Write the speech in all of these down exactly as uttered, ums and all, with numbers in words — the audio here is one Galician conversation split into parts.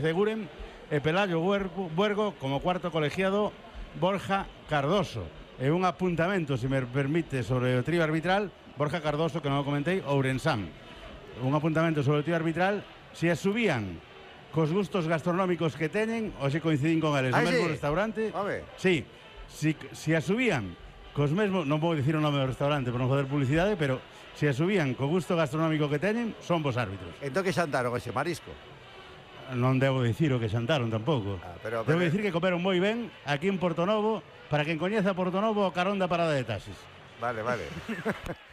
Seguren e Pelayo Buergo como cuarto colegiado Borja Cardoso. E un apuntamento, se me permite, sobre o trío arbitral. Borja Cardoso, que non o comentei, Ourensán. Un apuntamento sobre o trío arbitral. Se as subían cos gustos gastronómicos que teñen, ou se coincidín con eles no mesmo sí? restaurante. A ver. Sí, si, si as subían cos mesmos, non vou dicir o nome do restaurante por non fazer publicidade, pero se as subían co gusto gastronómico que teñen, son vos árbitros. Entón que xantaron ese marisco? Non debo dicir o que xantaron tampouco. Ah, pero, debo pero... dicir que comeron moi ben aquí en Portonovo. Para quen coñeza Portonovo, o carón da parada de taxis. Vale, vale.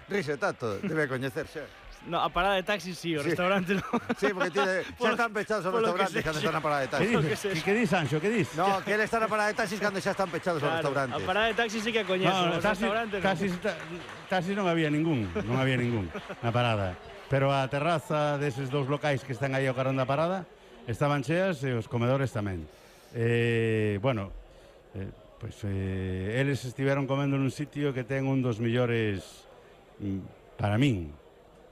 Rixe, tato, debe coñecerse. No, a parada de taxis sí, o sí. Restaurante no. Sí, porque tiene, xa están pechados os restaurantes cando están na parada de taxis. Que dices? Que, que dis, Sancho, que dis? No, que ele está na parada de taxis cando xa están pechados claro, os restaurantes. A parada de taxis sí que coñezo, no, os taxi, restaurantes taxis, no. Taxis non había ningún, non había ningún na parada. Pero a terraza deses dous locais que están aí ao carón da parada estaban cheas e os comedores tamén. Eh, bueno, eh, pois pues, eh, eles estiveron comendo nun sitio que ten un dos millores, para min,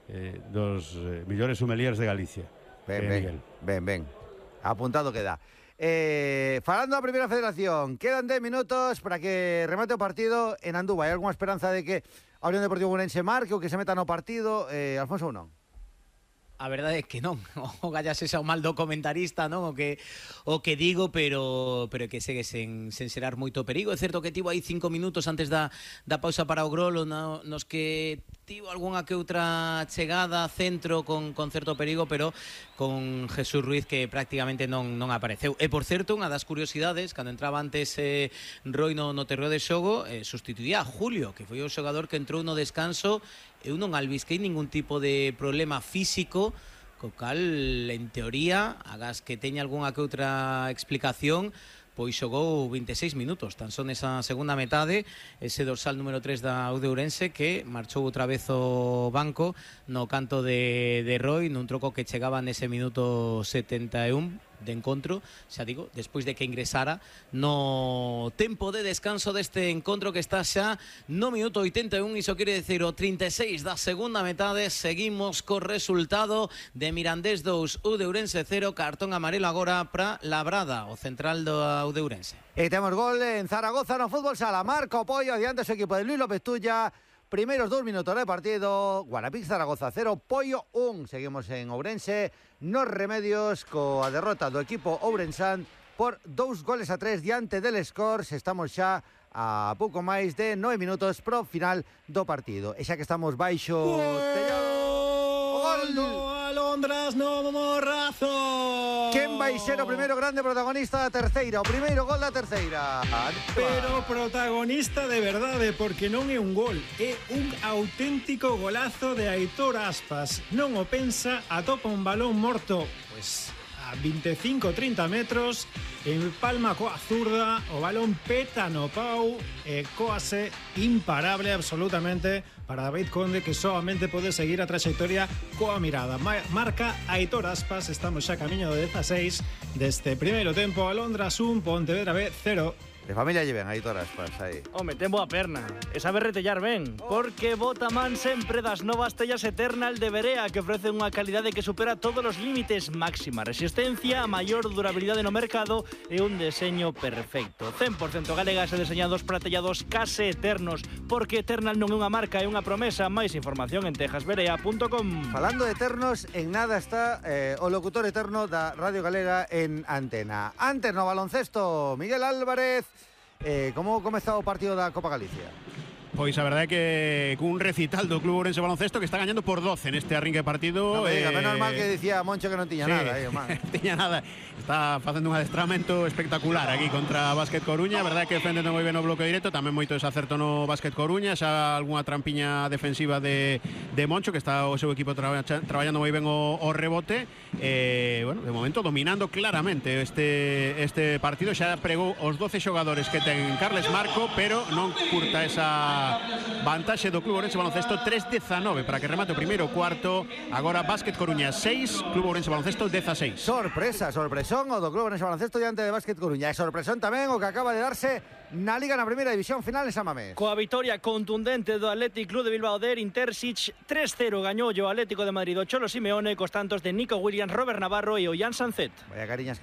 eh, dos eh, millores sommeliers de Galicia. Ben, ben, ben, ben. Apuntado queda. Eh, falando da Primeira Federación, quedan dez minutos para que remate o partido en Andúba. Hai algunha esperanza de que a Unión Deportivo Ourense marque ou que se meta no partido? Eh, Alfonso ou non? A verdade é que non, o gallas esa o mal do comentarista, non? O que o que digo, pero pero que segue sen, sen serar moito perigo. É certo que tivo aí cinco minutos antes da, da pausa para o Grolo, no, nos que tivo algunha que outra chegada, centro con, con certo perigo, pero con Jesús Ruiz que prácticamente non, non apareceu. E, por certo, unha das curiosidades, cando entraba antes eh, Roi no, no terreo de xogo, eh, sustituía a Julio, que foi o xogador que entrou no descanso. Eu non albisquei ningún tipo de problema físico, co cal, en teoría, agás que teña algunha que outra explicación, pois xogou vinte e seis minutos, tan son esa segunda metade, ese dorsal número tres da U de Ourense que marchou outra vez o banco no canto de, de Roi, nun troco que chegaba nese minuto setenta e un de encontro, xa digo, despois de que ingresara no tempo de descanso deste encontro que está xa no minuto oitenta e un, iso quere decir o trinta e seis da segunda metade. Seguimos co resultado de Mirandés dous, U de Ourense cero, cartón amarelo agora para Labrada, o central do U de Ourense. E temos gol en Zaragoza no fútbol sala, Marco Pollo adiante o seu equipo de Luis López Tulla. Primeiros dous minutos de partido, Guarapix Zaragoza cero, Pollo un. Seguimos en Ourense nos remedios coa derrota do equipo ourensán por dous goles a tres diante del Scores. Estamos xa a pouco máis de nove minutos pro final do partido. E xa que estamos baixo tellado, gol do Alondras no Morrazo. Quen vai ser o primeiro grande protagonista da terceira? O primeiro gol da terceira. Pero protagonista de verdade, porque non é un gol, é un auténtico golazo de Aitor Aspas. Non o pensa, atopa un balón morto, pois a veinticinco trinta metros, en palma coa zurda, o balón peta no pau e coase imparable absolutamente para David Conde, que solamente pode seguir a trayectoria coa mirada. Marca Aitor Aspas, estamos xa camiño do dezasseis deste primeiro tempo. Alondras un, Pontevedra B cero. De familia lleven Aitor Aspas aí. Home, ten boa perna. E sabe retellar ben, porque bota man sempre das novas tellas Eternal de Berea, que ofrecen unha calidade que supera todos os límites, máxima resistencia, a maior durabilidade no mercado e un deseño perfecto. cen por cento galegas e deseñados para tellados case eternos, porque Eternal non é unha marca, é unha promesa. Máis información en texas berea punto com. Falando de eternos, en nada está eh, o locutor eterno da Radio Galega en Antena. Antes no baloncesto, Miguel Álvarez. Eh, como comezou o partido da Copa Galicia? Pois a verdade é que cun recital do Club Ourense Baloncesto que está gañando por doce neste arrinque de partido. Non me diga, eh... menos mal que dicía Moncho que non tiña sí, nada aí, man. tiña nada. Está facendo un adestramento espectacular aquí contra Básquet Coruña. A verdade é que defendendo moi ben o bloque directo, tamén moito desacerto no Básquet Coruña, xa algunha trampiña defensiva de, de Moncho, que está o seu equipo traba, traballando moi ben o, o rebote. Eh, bueno, de momento dominando claramente este, este partido. Xa pregou os doce xogadores que ten Carles Marco, pero non curta esa a vantaxe do Club Ourense Baloncesto tres dezanove para que remate o primeiro cuarto. Agora Básquet Coruña seis, Club Ourense Baloncesto dezaseis. Sorpresa, sorpresón o do Club Ourense Baloncesto diante de Básquet Coruña. E sorpresón tamén o que acaba de darse na Liga na Primeira División final en San Mamés. Coa vitoria contundente do Athletic Club de Bilbao de Intersic, tres cero gañou o Atlético de Madrid o Cholo Simeone cos tantos de Nico Williams, Robert Navarro e Ollán Sancet. Vaya cariñas que